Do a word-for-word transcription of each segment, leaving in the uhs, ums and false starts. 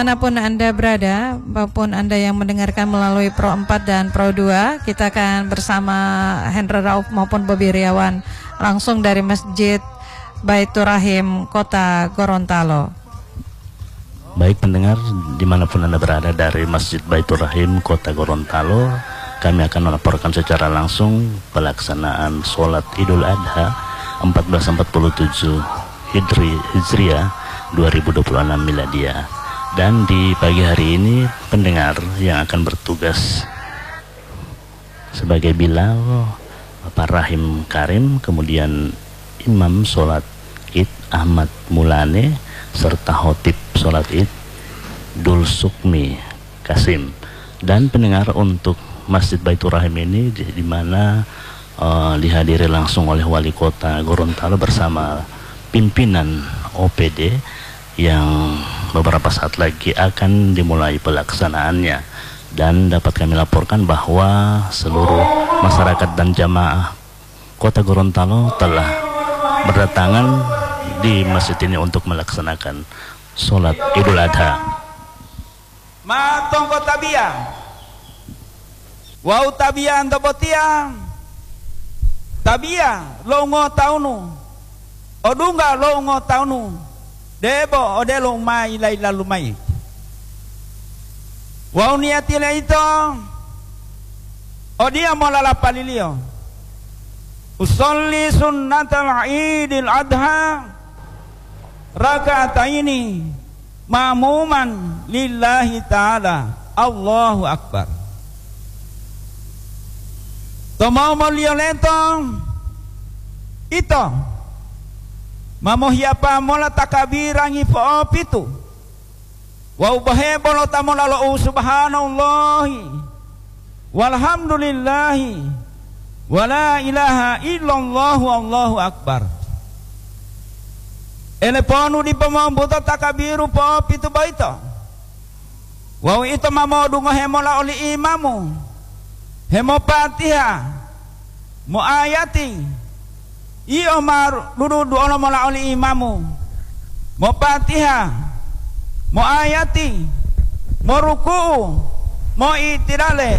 Manapun Anda berada, maupun Anda yang mendengarkan melalui Pro empat dan Pro dua, kita akan bersama Hendra Rauf maupun Bobi Riawan langsung dari Masjid Baiturrahim, Kota Gorontalo. Baik pendengar, dimanapun Anda berada dari Masjid Baiturrahim, Kota Gorontalo, kami akan melaporkan secara langsung pelaksanaan sholat Idul Adha empat belas empat puluh tujuh Hijri-, Hijriah, dua ribu dua puluh enam Miladiah. Dan di pagi hari ini, pendengar yang akan bertugas sebagai Bilal, Bapak Rahim Karim, kemudian Imam sholat Id Ahmad Mulane, serta Khotib sholat Id Dul Sukmi Kasim. Dan pendengar, untuk Masjid Baiturrahim ini di, di mana, eh, dihadiri langsung oleh Wali Kota Gorontalo bersama pimpinan O P D yang beberapa saat lagi akan dimulai pelaksanaannya. Dan dapat kami laporkan bahwa seluruh masyarakat dan jamaah Kota Gorontalo telah berdatangan di masjid ini untuk melaksanakan sholat Idul Adha. Ma tongko tabiya. Wawu tabiyanto botiya, tabiya lo ngotawunu, odungga lo ngotawunu, debo odelo u ma yila-yilalu mayi. Wawu niyatile ito odiya mola lapaliliyo, "Usolli sunnatal Idil Adha raka'ataini mamuman lillahi ta'ala." Allahu Akbar. To momoliyo leto, ito ma mohiyapa mola takabirangi po'opitu wawu bohe bolota mola lo u subhanallahi walhamdulillahi wala ilaha illallahu Allahu Akbar. Eleponu dipo mombuto takabiru po'opitu boyito. Wawu ito ma modungohe mola oli imamu, hemopatiha, moayati. Yio ma dudu-duolo mola oli imamu, mopatiha, moayati, moruku'u, moitidale,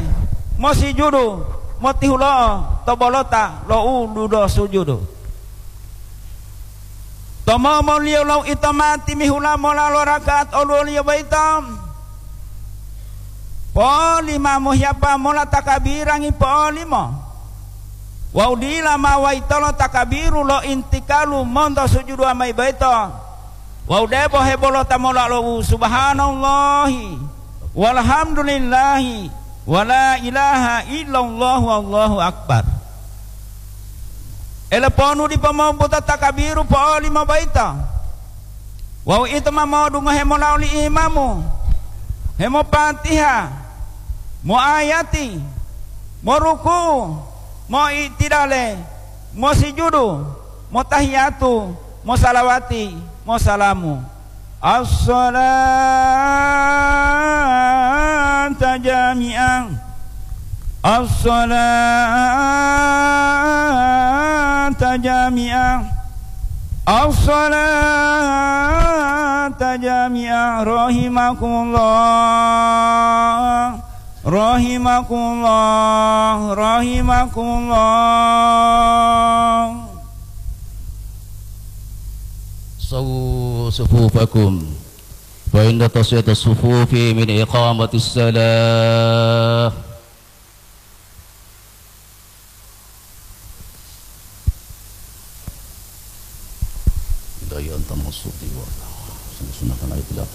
mosijudu, motihulo'o to bolota lo u dudo sujudu. To momoliyo lo ito ma timihula mola lo raka'at oluwoliyo boyito, poli ma mohiyapa mola takabirangi po'olimo. Wawu dila ma wayitolo takabiru lo intikalu monto sujuduwa mayi boyito, wawu debo hebolota mola lo u subhanallahi walhamdulillahi wala ilaha illallahu Allahu Akbar. Eleponu dipo mombuto takabiru po'olimo boyito. Wawu ito ma modungohe mola oli imamu, hemopatiha, moayati, moruku'u, moitidale, mosijudu, motahiyatu, mosalawati, mosalamu. As-salata jami'ah. As-salata jami'ah. As-salata jami'ah. Rahimakumullah. Rahimakumullah. Rahimakumullah. Sawu sufufakum. Fa inna taswiyatas sufufi min iqamatis shalah. Ila yanta masuti wa sunatan ayat Allah.